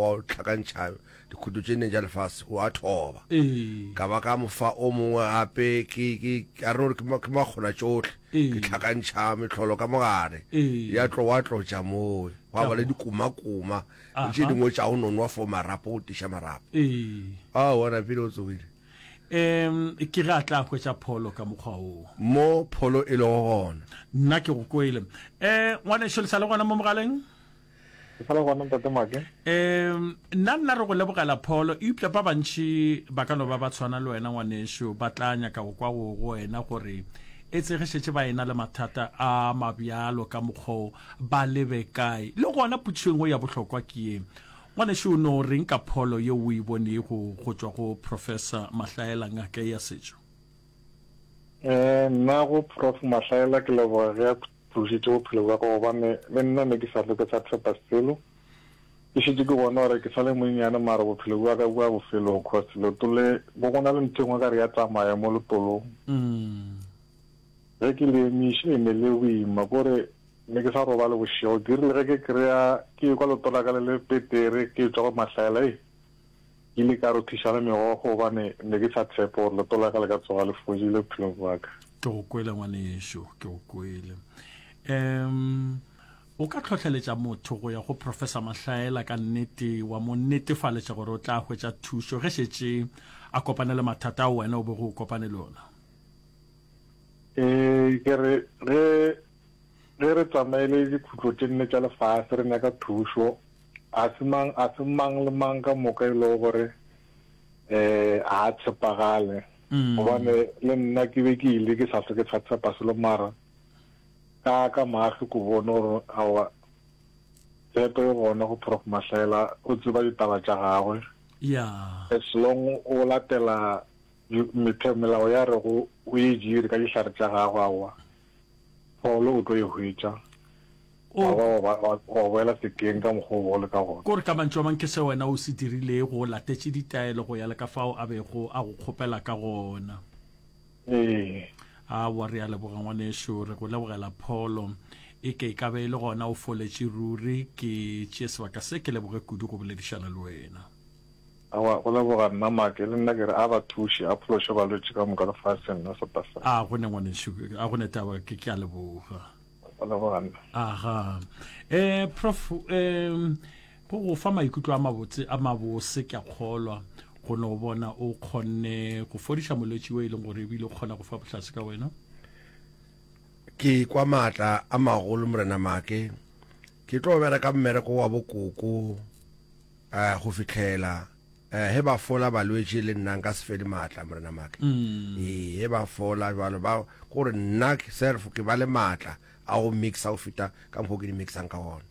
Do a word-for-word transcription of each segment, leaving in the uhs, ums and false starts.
wa tlhakantšha dikhuto tše nne tša lefase o a thoba. Ee. Ka ba ka mo fa o mongwe gape, ke, ke, a re no re ke ma, ke makgona tšohle, Ee. ke tlhakantšha mehlolo ka mogare, Ee. ya tlo wa tlotša moo, gwa ba le dikumakuma, le tše Aha. dingwe tša go nonwa for marapo, go tiša marapo. Ee. Aowa, napile o tsogile. Um ke ge a tla hwetša pholo ka mokgwa woo. Mo pholo e lego gona. Nna ke go kwele. Um ngwanešu, le sa le gona mo mogaleng? Ke sa le gona, Ntate Make. Um nna nna re go lebogela pholo, eupša ba bantši ba ka no ba ba tshwana le wena ngwanešu, ba tla nyaka go kwa go go wena gore etse ge šetše ba ena le mathata a mabjalo ka mokgwa wo, ba lebe kae. Le gona potšišo e nngwe ya bohlokwa ke ye, Ngwanešu, o no reng ka pholo yeo o e bonego go tšwa go Professor Mahlaela, ngaka ye ya setšo? Eh, nna go Prof Mahlaela ke leboga ge a phološitše bophelo bja ka gobane le nna ne ke sa hlwe ke sa tshepa selo. Ke šetše ke bona gore ke sa le monnyane mara bophelo bja ka bo ya bofelong cause leoto le bo go na le ntho e nngwe ka re ya tsamaya mo letolong. Ge ke le emiša e ne le boima kore ne ke sa robale bošego. Ke rile ge ke kry-a ke ekwa leoto la ka le le petere ke tšwa go Mahlaela, ei ke ile ka rothiša le megokgo gobane ne ke sa tshepe gore leoto la ka le ka tsoga le fodile bophelong bja ka. Ke go kwele ngwanešu, ke go kwele. Um o ka hlohleletša motho go ya go Professor Mahlaela ka nnete, wa mo netefaletša gore o tla hwetša thušo ge šetše a kopane le mathata ao wena o bego o kopane le ona? Ee, ke re ge ge re tsamaile dikhutlo tše nne tša lefase re nyaka thušo, a se mang, a se mang le mang ka moka e lego gore um a a tshepagale. Gobane le nna ke be ke ile ke sa hlwe ke sa tshepa selo, mara ka ka mahlo ke bone gore aowa tshepo e gona go Prof Mahlaela, o tseba ditaba tša gagwe. Ya. As long o latela metheo melao ya rego o e dire ka dihlare tša gagwe, aowa pholo o tlo e hwetša, wa ba wa wa boela sekeng ka mokgwa o bego o le ka gona. Kore ka mantšu a mang ke se wena o se dirilego, o latetše ditaelo go ya le ka fao a bego a go kgopela ka gona. Ee. Aowa, re a leboga ngwanešu, re go lebogela pholo. E ke e ka be e le gona o foletše ruri. Ke tšee sebaka se ke leboge kudu go boledišana le wena. Aowa, go leboga nna Make, le nna ke re a ba thuše, a phološe balwetši ka moka lefaseng la South Africa. A go ne ngwanešu, a go ne taba, ke ke a leboga. Go leboga nna. Aga. Eh, Prof, eh, go go fa maikutlo a mabotse, a mabose, ke a kgolwa, go no bona o kgonne go fodiša molwetši o e leng gore ebile o kgona go fa bohlatse ka wena. Ke kwa maatla a magolo, Morena Make. Ke tlo bereka mmereko wa bokoko. Eh, go fihlela eh, he ba fola balwetši le nna nka se fele maatla, Morena Make. Ee, he ba fola jwalo ba gore nna self ke ba le maatla a go mixa go feta ka mokgwa o ke di mixang ka gona.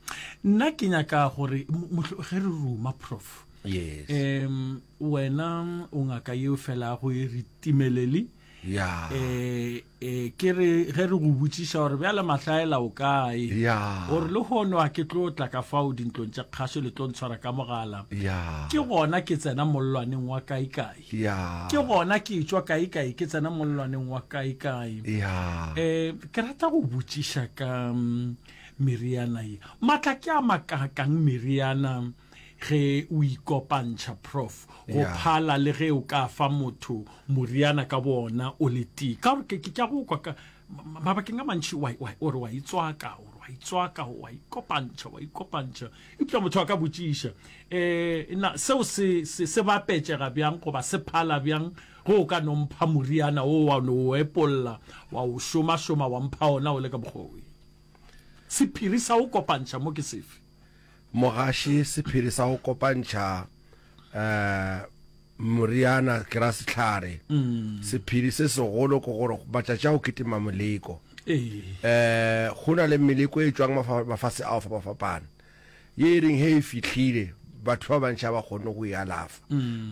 Nna ke nyaka gore mohlo ge re ruma Prof. Yes. Um wena o ngaka yeo felago e re timelele. Ya. Eh, eh, ke re ge re go botšiša gore bjale Mahlaela o kae, Ya. gore lehono a ke tlo tla ka fao dintlong tša kgašo le tlo ntshwara ka mogala, Ya. ke gona ke tsena mollwaneng wa kaekae, Ya. ke gona ke etšwa kaekae ke tsena mollwaneng wa kaekae. Ya. Eh, ke rata go botšiša ka mm, meriana ye. Matla ke a makaakang meriana ge o ikopantšha, Prof, go Yeah. phala le ge o ka fa motho moriana ka bona o le tee? Ka gore ke, ke, ke a go kwa ka ma-, mabakeng a mantši wa, wa, o re wa itswaka, o re wa itswaka, wa ikopantšha, wa ikopantšha. Eupša motho a ka botšiša, eh, na seo se, se, se bapetšega bjang goba se phala bjang ge o ka no mpha moriana wo wa no o epolla, wa o šomašoma, wa mpha ona o le ka mokgwa wo? Sephiri sa go kopantšha mo ke sefe? Mogaši, sephiri sa go kopantšha um moriana ke ra sehlare. Sephiri se segolo ke gore matšatši a go kitima moleko. Um go na le meleko e tšwang mafase a go fapafapana ye e reng ge e fihlile batho ba bantši ga ba kgone go e alafa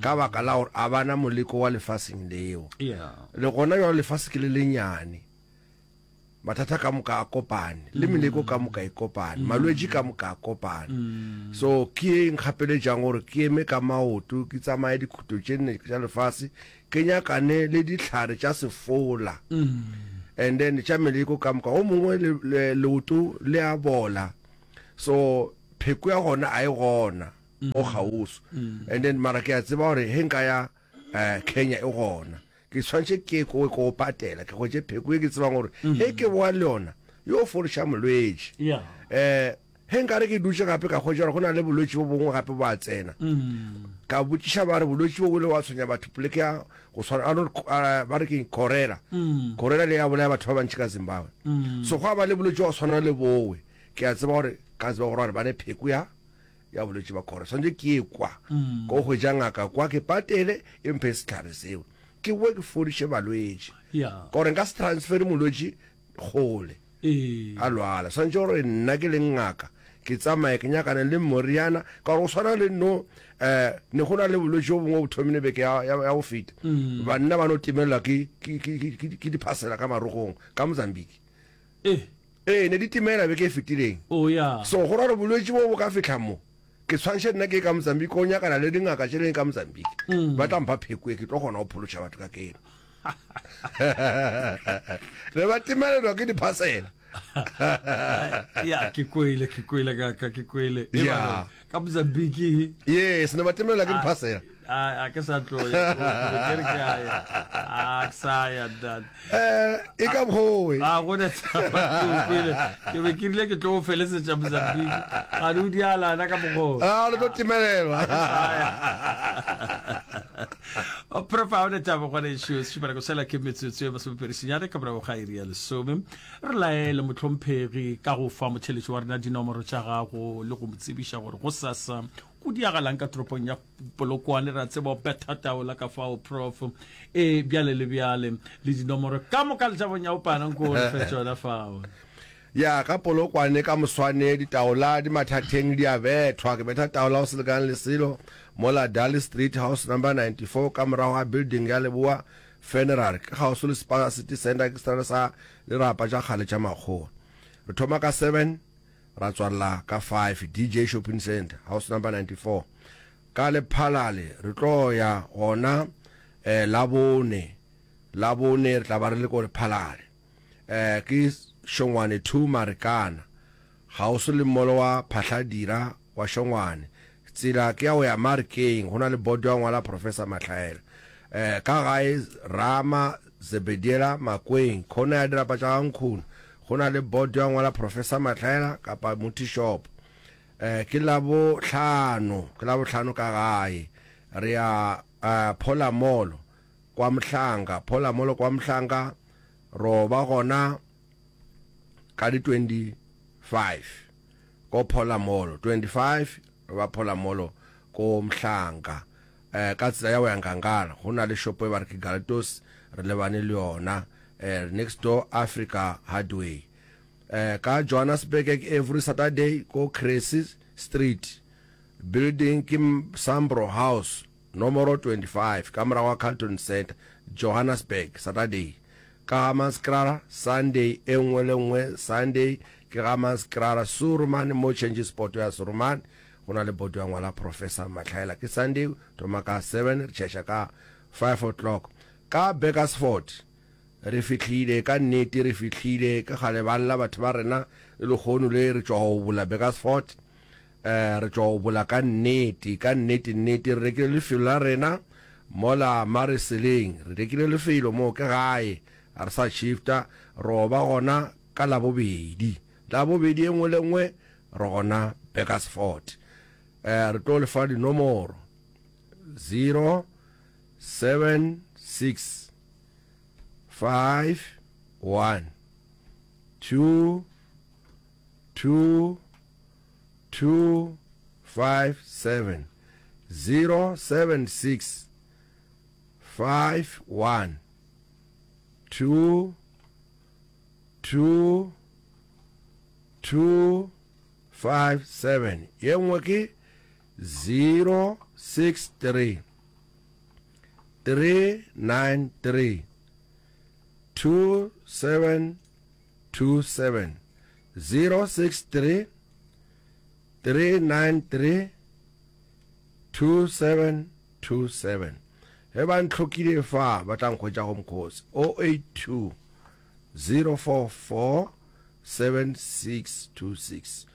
ka baka la gore a bana moleko wa lefaseng leo. Le gona bjalo lefase ke le lenyane. Mathata ka moka a kopane, le meleko ka moka e kopane, malwetši ka moka a kopane. So ke ye e nkgapeletšang gore ke eme ka maoto, ke tsamaye dikhuto tše nne tša lefase, ke nyakane le dihlare tša sefola, and then tša meleko ka moka. O mongwe le, le, leoto le a bola, so pheko ya gona a e gona. o kgauswi. And then mara ke a tseba gore ge nka ya um Kenya e gona, ke tshwanetse ke ko ko patela, ke hwetše pheko e ke tsebang gore ge ke boa le yona yo fodiša molwetši. Yeah. Um ge nkare ke dutše gape ka hwetša gore go na le bolwetši bo bongwe gape bo a tsena, ka botšiša ba re bolwetši bo bo ile wa tshwenya batho poleke ya go tshwana a no ba re ke cholera, cholera le ya bolaya batho ba bantši ka Zimbabwe. So gwa ba le bolwetši wa go tshwana le bowe, ke a tseba gore ka tseba gore ba ne pheko ya ya bolwetši ba cholera, tshwanetse ke ye kwa ko hwetša ngaka kwa ke patele e mphe sehlare seo, ke boe ke fodiše balwetši. Yeah. Ka gore nka se transfere molwetši kgole Ee. a lwala, tshwanetse gore nna ke leng ngaka ke tsamaye ke nyakane le moriana, ka gore go tshwana le no um ne go na le bolwetši bo bongwe bo thomile beke ya, ya, ya go feta, banna ba no timelelwa ke, ke, ke, ke, ke, ke diphasela ka marogong ka Mozambique. Eh. Ee, ne di timela beke e fetileng. Oh, yeah. So go ra gore bolwetši bo bo ka fihla mo, ke tshwanetse nna ke ye ka Mozambique go nyakana le dingaka tše leng ka Mozambique, ba tla mpha pheko e ke tlo kgona go phološa batho ka keno. Re ba timelelwa ke diphasela. Ya, ke kwele, ke kwele kaka, ke kwele. E Yeah. ba ka Mozambique. Yes, ne ba timelelwa ke diphasela. A a ke sa tlo ya, ke re ke a ya. A ke sa ya ntate. Eh, e ka bgowe. A go ne taba, ke o kwele. Ke be ke rile ke tlo o felesetša Mozambique. Ga di o dialana ka mokgwa. Ah, le tlo timelelwa. O prof, ga o ne taba ngwanešu, sešupanako sela ke metsotso e masomepedi senyane ka morago ga iri ya lesome. Re laele mohlomphegi ka go fa motheletši wa rena dinomoro tša gago le go mo tsebiša gore go sasa go diagalang ka toropong ya Polokwane. Re a tseba o betha taola ka fao prof, e bjale le bjale le dinomoro ka moka le tša bonyaopana nko re fe tšona fao. Ya ka Polokwane ka moswane ditaola di mathatheng di a bethwa. Ke betha taola go se lekane le selo mola Dali Street house number ninety-four ka morago ga building ya Leboa Funeral, ke kgauswi le Spaza City Centre, ke seterata sa dirapa tša kgale tša makgowa. Re thoma ka seven ra tswalela ka five D J Shopping Centre house number ninety-four. Ka Lephalale re tlo ya gona eh, Labone, Labone re tla ba re le ko Lephalale. Eh, ke Shongwane two Marikana, kgauswi le mmolo wa Phahladira wa Shongwane. Tsela ke ya go ya Marikeng, go na le bodo ya ngwala Professor Mahlaela. Eh, ka gae Rama Zebediela Makweng, khona ya dirapa tša Gankgune, go na le bodo ya ngwala Professor Mahlaela kapa Muti Shop. Eh, ke Labohlano, ke Labohlano ka gae re ya eh, Pholamolo kwa Mhlanga, Pholamolo kwa Mhlanga ro ba gona ka di twenty-five ko Pholamolo, twenty-five re ba Pholamolo ko Mhlanga. Eh, ka tsela ya go ya Nkangala go na le shopo e ba re ke Galtos, re lebane le yona, eh, next door Africa Hardware. Eh, ka Johannesburg ke every Saturday ko Cressy Street, building ke Sambro House nomoro twenty-five ka morago ga Carlton Center, Johannesburg, Saturday. Ka Hammanskraal Sunday e nngwe le nngwe, Sunday ke Hammanskraal Surumane mo change spot ya Surumane, go na le bodo ya ngwala Professor Mahlaela. Ke Sunday thoma ka seven re tšhaiša ka five o'clock. Ka Burgersfort re fihlile ka nnete, re fihlile ke kgale ba lla batho ba rena le lekgono le re tšwa go bula Burgersfort. Eh, re tšwa go bula ka nnete, ka nnete nnete re rekile lefelo la rena mola Mareseleng, re rekile lefelo mo ke gae, ga re sa shifta, ro ba gona ka Labobedi, Labobedi e nngwe le nngwe re gona Burgersfort. Eh, re tlo lefa dinomoro zero seven six five one two two two five seven, zero seven six five one two two two five seven. Ye nngwe ke zero six three three nine three two seven two seven, zero six three three nine three two seven two seven. Ge ba ntlhokile fa ba tla nkhwetša go mokgosi oh eight two zero four four seven six two six,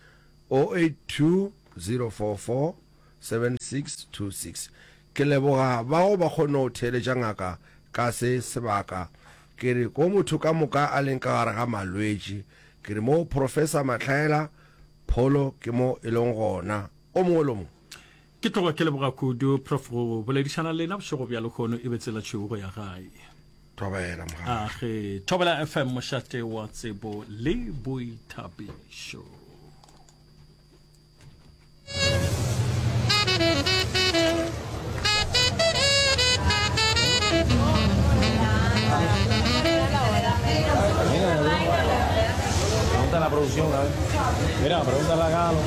oh eight two zero four four seven six two six. Ke leboga bao ba kgonne go theeletša ngaka ka se sebaka. Ke re ko motho ka moka a leng ka gare ga malwetši, ke re mo Professor Mahlaela pholo ke mo e leng gona. O mongwe le o mongwe. Ke tloga ke leboga kudu Prof go boledišana le lena bošego bja lehono e be tsela tšhweu go ya gae. Thobela mogala. Age, Thobela F M mošate wa tsebo le boithabišo. Pregunta a la producción, a ver. Mira, pregúntale acá a los